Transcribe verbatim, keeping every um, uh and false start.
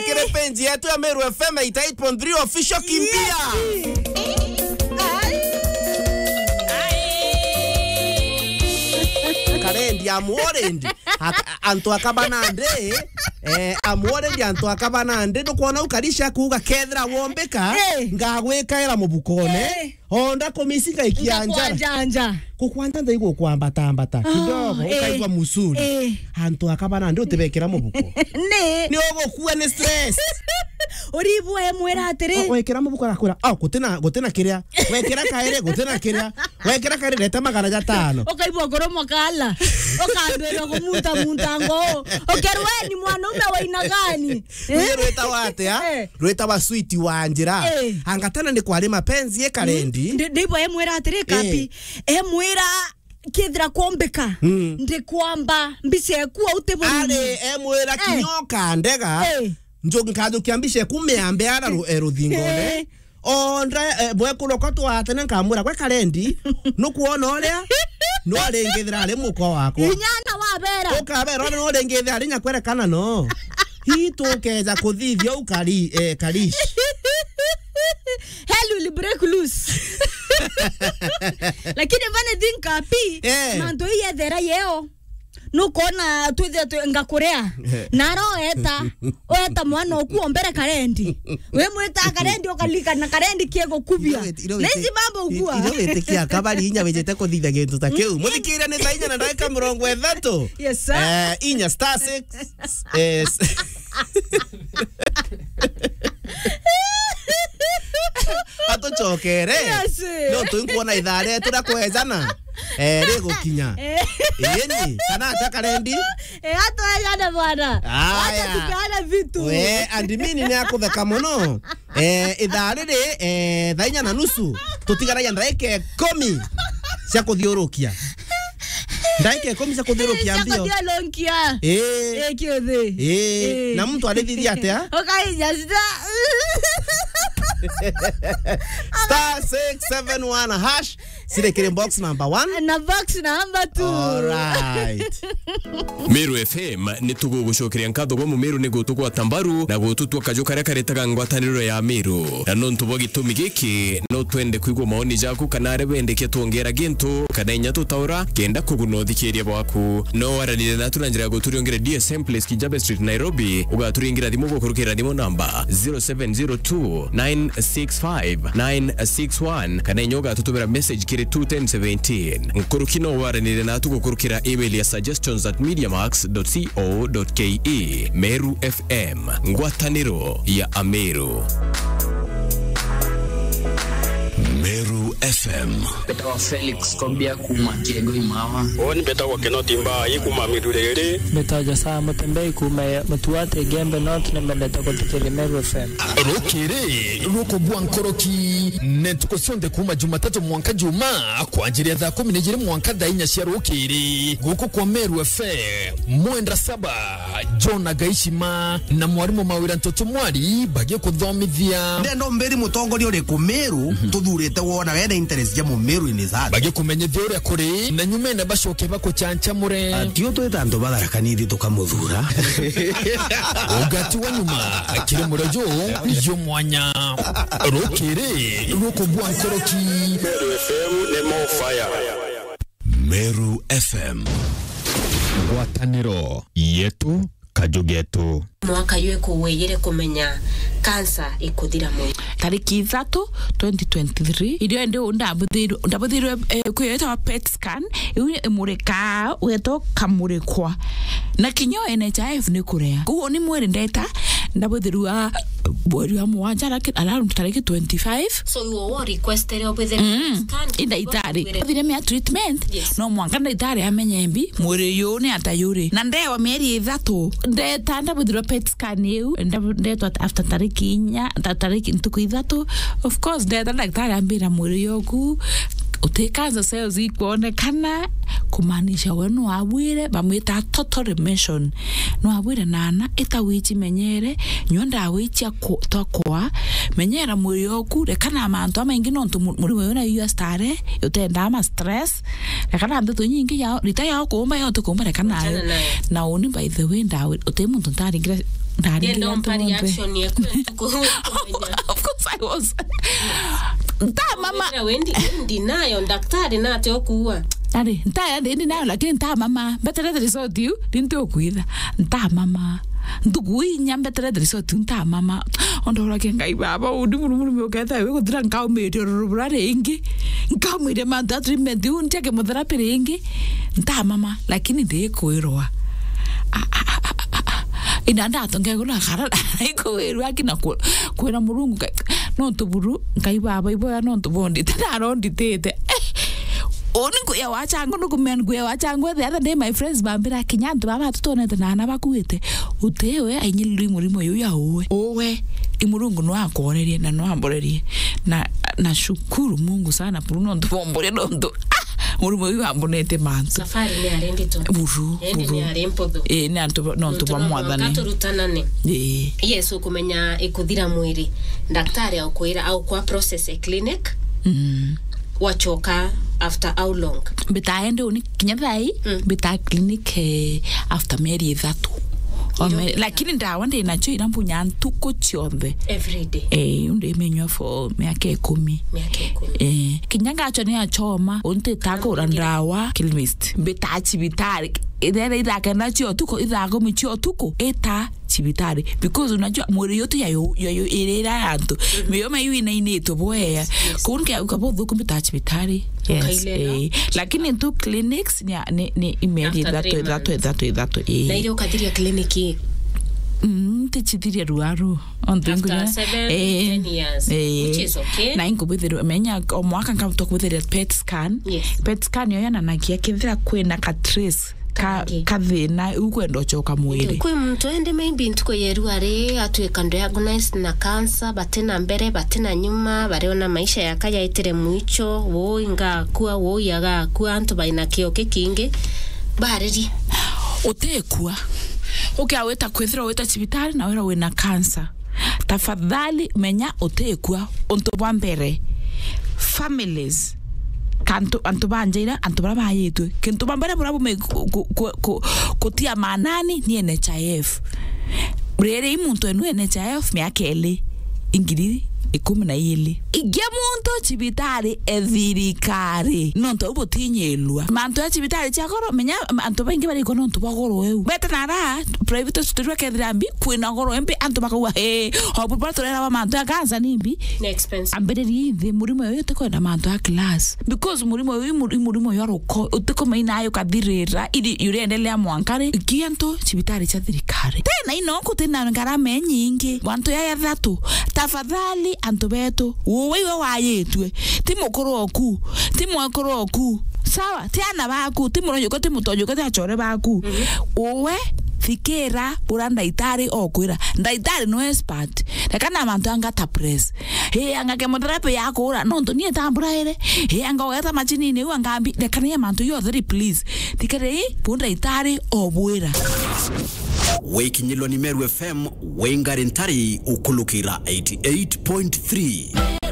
Kiri page yetu ya Meru F M eighty eight point three official, kimbia. Yes. Ai. Karendi, I'm worried. Ak-, antu akaba nandi, eh, I'm worried, antu akaba nandi. Ndukwona ukari cia kuuga kethira wombika, eh, ngagwikaira mubukone. Eh. Onda kumisi ngaikia njara. Ngakwanjanja. Gukwanja nda igukwambatambata kidogo, eh, ukaigua musuri. Eh. Antu akaba nandi utibekira mubuko. Ni. Ni ugukua ni stress. Uribwa emwira atiri. O-, wekira mubuko arakwira, "Oh, gutina, gutina kiria." Wekira kairi, gutina kiria. Wekira kairi, reta magana jatano. Ukaigua ngoro mukala. Ukambirwa kumuta munta ngoo. Ukerweni mwanaume wa aina gani? Ruye rwitawa atia? Eh. Rwitawa sweet wa njira. Eh. Anga tena ni kwari mapenzi e Karendi? Mm. Ndi-, ndibwa emwira atiri, eh, Kapi. Emwira kethira kwombika, mm, ndikwamba mbica eku au tiburi. Ari emwira, eh, kinyoka ndega. Eh. Nju-, nkajukia mbica eku miambe ara ru-, eh, ruthingone. Eh. Onda, eh, bwekuru ko twatene nkamwira, "Gwe Karendi, nukwona uria? Nwaringithira ari muko wakwa." Inyana wabera. Ukabera, "Ona nwaringithira ari nyakwerekana no." Hii tukeja kuthithia u kari-, eh, karish. Hell will break loose. Lakini funny thing, Kapi, eh, mantu ii yethera yeo. Nukona twithia twi-, ngakurea. Eh. Naro eta, weta mwana oku ombere Karendi. We mwita Karendi, ukalika na Karendi kiegukubia. Iro witi-, iro witi-, naici mambo ugua. Iro witikia kabari inya wijite kuthitha gintu ta kiu. Muthikiria ni thaa inya na ndagika mirongo ithatu. Yes, sir. Eh, inya star six. Eh, s-, atucokere. Yes. No tuinkuona ithaa rietu ria kwejana. Eh, rigukinya. Eh. Iyeni, kana atia Karendi? Eh, atuejane bwana. Aya. Wacha tupeane vitu. We, admin ni akutheka muno. Eh, ithaa riri, eh, thaa inya na nusu, tutigaragia ndagika ikumi cia kuthiurukia. Ndagika ikumi cia kuthiurukia mbio. Cia kuthiurukia. Eh. Eh, kiuthi. Eh. Eh. Na muntu arithithia atia? Ukaija star. Star six seven one hash. Siri kiri box number one. Na box number two. Alright. Meru F M ni tugugucokeria nkatho gwa Mumeru ni gutugwata mbaru na gututua kaju karia karetaga ngwataniro ya Meru. Na nontu bwa gitumi giki, no twende kwigua maoni jaku kana aria wendekia twongera gintu kana inya tutaura kenda kuguna uthikiria bwaku. No waranire natu na njira ya guturiongera D S M Place, Kijabe Street, Nairobi. Ugaturingira thimu gukurukira thimu namba zero seven zero two nine six five nine six one, kana inya ugatutumira message kiri two ten seventeen. Nkuruki no waranire natu gukurukira email ya suggestions at mediamax dot co dot ke. Meru F M, ngwataniro ya Ameru. Meru F M. Mbetawa Felix Kobia kuma Kiego Imawa. Uuni mbetagwa Kinoti Mbai kuma Miruriri. Mbetagwa Josaa Mutembei kuma Mutuati Gembe North, ni mbendete guthikiria Meru F M. Rukiri rukugwa nkoroki, ni ntuku cionthe kuma Jumatatu mwanka Juma, kwanjiria thaa kumi na ijiri mwanka thaa inya cia rukiri, guku kwa Meru F M. Mwenda Saba, John Agaishima na mwarimu Mawira Ntoto Mwari bagikuthomithia. Ndenda umbiri mutongoria uriku Meru, mhm, tuthurite wona wena interest ja Mumeru in his heart. Bagikumenyithia uria kuri, na nyumene bacoke bakuchanchamure. Atio twita antu batharakanithi tukamuthura. Ugati wa nyuma kiri murejo jumwanya. Rukiri rukugwa nkoroki. Meru F M ni more fire. Meru F M. Ngwataniro yetu, kaju getu. Mwaka ywe kuweyire kumenya kansa ikuthira mwiri. Tariki ithatu, twenty twenty-three, irio ndi ndabuthirwe, ndabuthirwe, eh, kwiyetwa PET scan, iu imurikaa wetwa kamurikwa. Na kinya N H I F ni kurea. Koguo ni mwiri ndeta, ndabuthirwa mweri wa mugwanja, laki-, around tariki twenty-five. So, iwe wo requestere obwithire, mm, scan, i ndagitari. Obwire. Othire mea treatment, yes, no mwanka ndagitari amenye mbi, mwiri uyu ni ata yuri. Na ndewa mieri ithatu, ndeta ndabuthirwa PET scan iu, ndabu-, ndetwa after tariki inya, ta-, tariki ntuku ithatu. Of course, ndeta ndagitari ambira mwiri uyu oku, uti cancer cells ikwonekana, kumaanisha we nwabwire, bamwita total remission. Nwabwire nana, ita wichi menyere, nyua ndawa ichia ku-, twa kwa, menyera mwiri oku, rekana na mantu amaingi nontu mu-, murimo uyu na iyo stare, utendaa ma stress, rekana na ndeto nyingi yao, rita yao kuumba yao tukuumba rekana nayo. Wachana nayo. Na uni by the way ndawe, uti muntu ntaringira Ndenda umpa reaction yeku ntuku. Of course I was. Nta mama. Wira wendi, wendi nayo, daktari nate okuua. Ari, nta, ndi nayo, lakini nta mama. Mbeterete resort iu, ni nti ukwitha. Nta mama. Ntuku inya mbeterete resort iu, nta mama. Ondoragia Ngai baba, undi muru muru uketha we guthira nkaumite rurubura ringi. Nkaumite mantu a treatment iu, ntiake mutherapy ringi. Nta mama, lakini ndikwirwa. Ina ndatonge guna kara ikwirwa kina ku-, kwira Murungu Ngai, no tuburu Ngai baba iboya no tubondite na aronditite. Eh, oni kuya wachangu nukumen kuya wachangu the other day my friends bambira kinya antu baba tutonete na ana bakuite utewe ainyilirwe murimo yu ya uwe. Uwe i Murungu no akorerie na no amborerie na na shukuru Mungu sana buru no ntubomboria no ntu ah, murimo yu ambonete mantu. Safari ni ari ndito. Buru, indi buru. Ni ari mpotho. Eh, ni antu no ntu ba mwathani. Turutanane. Eh. Yes, ukumenya ikuthira mwiri. Daktari aukwira, aukwa process e clinic. Mm. Wachoka after how long? Mbitaende uni kinya thai, mm, mbita clinic eh, after mieri ithatu. Ome, lakini ndawa ndi nacio ira mbunya ntuku cionthe. Every day. Eh, undi minywa for miaka ikumi. Miaka ikumi. Eh, kinya ngacho ni achoma, unti takura ndawa, chemist. Mbita cibitari. Ithera ithaa kenda cio tuku, ithaa kumi cio tuku, ita cibitari because unajua mwiri yote ya yo, ya yo irira antu miyo mayu inainitwe bwea. Yes. Kunke ukabo thuku mbita cibitari. Yes. Eh. Lakini tu clinics ni ni ni imeri ithatu ithatu ithatu ithatu. Eh. Na ile ukathiria clinic. Mm, tichithiria ruaru. After seven, eh, ten years, eh, which is okay. Na inkubithiria menya o mwaka nkabutwa kubithiria pet scan. Yes. Pet scan yo yananagia kithira kwina ka trace ka, kathina ukwenda uchoka mwiri. Kwi muntu ende maybe ntuku yeru ari atwika diagnosed na cancer, batina mbere, batina nyuma, bariona maisha yaka yaitire mwicho, woi ngakua, woi agakua, antu baina kio kikingi, bariri. Utikua. Ukia wita kwithira wita cibitari na wira wina cancer. Tafadhali menya utikua. Untu bwa mbere, families, kantu, antu ba njaira, antu bara bayitwe. Kintu ba mbere bura bume ku-, ku-, ku-, ku-, kutia maanani ni N H I F. Riri i muntu enu N H I F miaka iri, ingiri ikumi na iri. Ingi muntu cibitari e thirikari. Nontu au butinyirua. Mantu ya cibitari cia goro, menya antu baingi barikwa nontu bwa goro eu. Beta nara, private hospital kethira mbi, kwina goro embi, antu bakauga, "Hey, obu baturera wa mantu ya cancer ni mbi." Ni expensive. Ambiririe ithi, murimo uyu utikwenda mantu ya class. Because murimo uyu, muri-, murimo uyu aruko, utikumaina ayo kathirira, ili uriendelea mwankari, ikiantu cibitari cia thirikari. Tena ino kutina ngarama inyingi, mantu ya yathatu. Tafadhali, antu betu, uwe iwe wayitwe. Ti mukuru oku, ti mwekuru oku. Sawa, ti ana baku, ti murojuko, ti mutojuko, ti achore baku. Mhm. Uwe, thikira, ura ndaitari okwira. Ndaitari no expert. Reka na mantu anga ta press. He, anga chemotherapy ya kura, nontu nie tambura ere. He, anga ugeta machinini iu angambi. Reka ni mantu yo theri, please. Thikira, bu ndaitari obwira. Wikinyilwa ni Meru F M, wingari ntari ukulukira eighty-eight point three.